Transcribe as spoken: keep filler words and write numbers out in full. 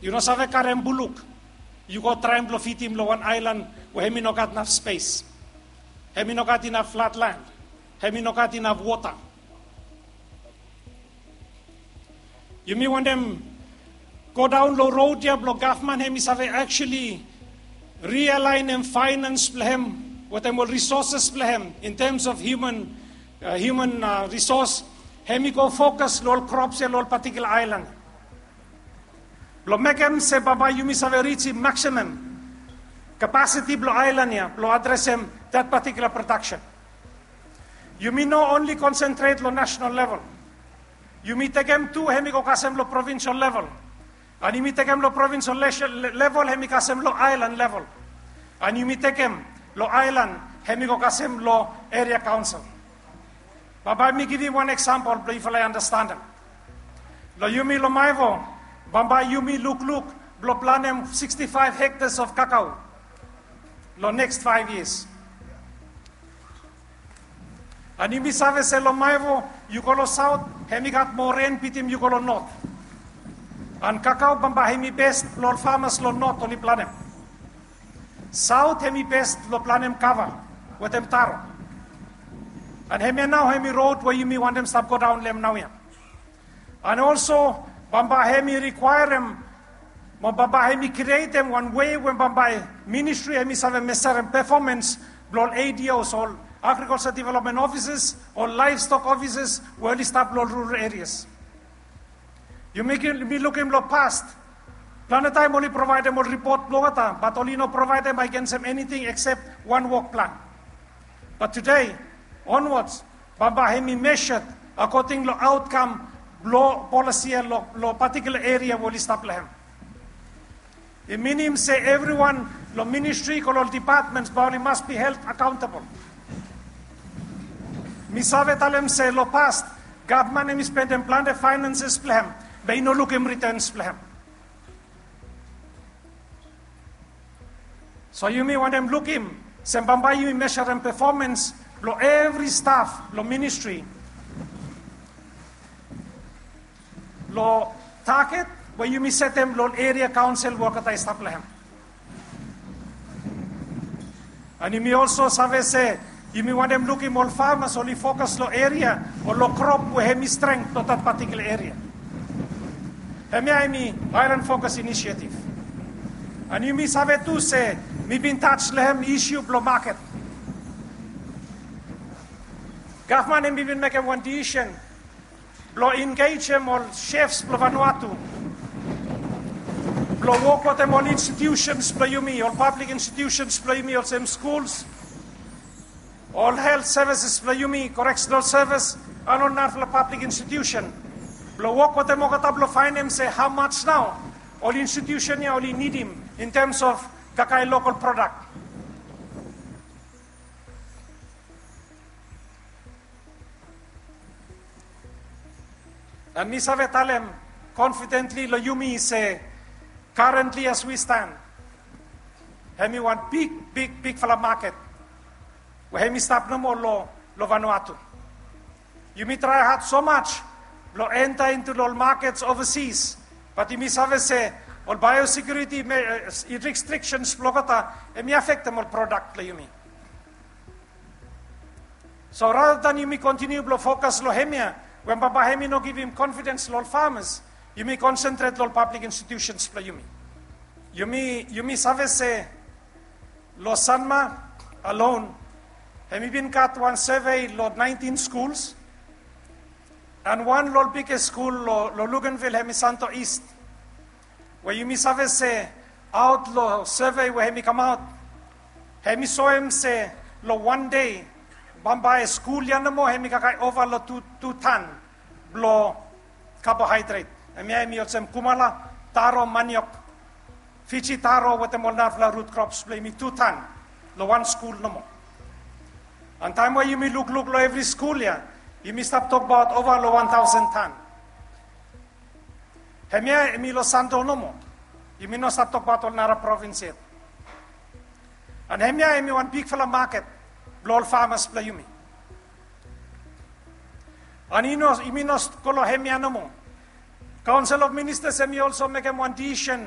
Yu no save karem buluk yu go traem blong fidim long wan aelan we hemi no gat naf spes, hemi no gat inaf flat lan, hemi no gat inaf wota. Yumi wantem go daon long rod ya blong gavman hemi save actually rialaenem faenans blong hem wetem ol risoses blong hem in tems of human, human risos. Hemi go fokas long ol krops ya long ol patikula aelan blong mekem se bambae yumi save rijim maksimam kapasiti blong aelan ya blong adresem dat patikula prodaksen. Yumi no onli konsentret long nasenal level. Yumi tekem tu hemi go kasem long provinsel level. An yumi tekem long provinsel level hemi kasem long aelan level. An yumi tekem long aelan hemi go kasem long eria kaonsel. Bambae mi givim wan eksampol blong yufala i anastanem. Long yumi long maevo, bambae yumi lukluk blong planem sikstifaef hektas of kakao long neks faef yias. An yumi save se long maevo yu go long saot, hemi gat moa ren bitim yu go long not. An kakao bambae hemi bes blong ol famas long not oli planem. Saot hemi bes blong planem kava wetem taro. An hemia nao hemi rod we yumi wantem stap godaon long hem naoia. An olso bambae hemi rikwaerem mo bambae hemi krietem wan wei we bambae ministri hemi save mesarem pefomans blong ol ados, ol agrikulsa developmen ofises, ol laevstok ofises we oli stap long ol rural erias. Yumi lukim long pas, plante taem oli provaedem ol ripot blong olgeta, bat oli no provaedem agensem eniting eksep wan wok plan. Bat tude onwats bambae hemi mesaed akoding long aotkam blong polisi ya long patikula eria we oli stap long hem. I minim se evriwan long ministri go long ol depatmens bae oli mas bi held akaontabol. Mi save talem se long pas gavman hemi spendem plante faenanses blong hem be i no lukim ritens blong hem. So yumi wantem lukim se bambae yumi mesarem pefomans blong evri staf long ministri long taget we yumi setem long ol eria kaonsel we olgeta i stap long hem. An yumi olso save se yumi wantem lukim ol famas oli fokas long eria o long krop we hemi strength blong dat patikula eria. Hemia hemi aelan fokas inisiativ. An yumi save tu se mi bin taj long hem isiu blong maket. Gavman hemi bin mekem wan disisen blong engejem ol sefs blong Vanuatu blong wok wetem ol institusens blong yumi, ol pablik institusens blong yumi olsem skuls, ol helt sevises blong yumi, koreksenal sevis, an ol narafala pablik institusen blong wok wetem olgeta blong faenem se hao maj nao ol institusen ya oli nidim in tems of kakae lokal prodak. An mi save talem konfidentli long yumi se karentli as wi stan, hemi wan big big bigfala maket we hemi stap nomo long Vanuatu. Yumi trae had so maj blong enta intu long ol makets ovasis, bat yumi save se ol baeosekiuriti restriksens blong olgeta hemi afektem ol prodak blong yumi. So rata dan yumi kontiniu blong fokas long hemia we bambae hemi no givim konfidens long ol famas, yumi konsentret long ol pablik institusens blong yumi. Yumi save se long Sanma alon hemi bin gat wan sevei long naentin skuls, an wan long ol bigest skul long Luganville hemi Santo East, we yumi save se aot long sevei we hemi kamaot, hemi soem se long wan dei bambae skul ya nomo hemi kakae ova long tu tan blong kabohaedret. Hemia hemi olsem kumala, taro, maniok, Fiji taro wetem ol narafala rut krops blong yumi tu tan long wan skul nomo. An taem we yumi lukluk long evri skul ya, yumi stap tokbaot ova long wan taosen tan. Hemia hemi long Santo nomo. Yumi no stap tokbaot ol nara provins yet. An hemia hemi wan bigfala maket blong ol famas blong yumi. An yumi no go long hemia nomo. Kaonsel of Ministas hemi olso mekem wan disisen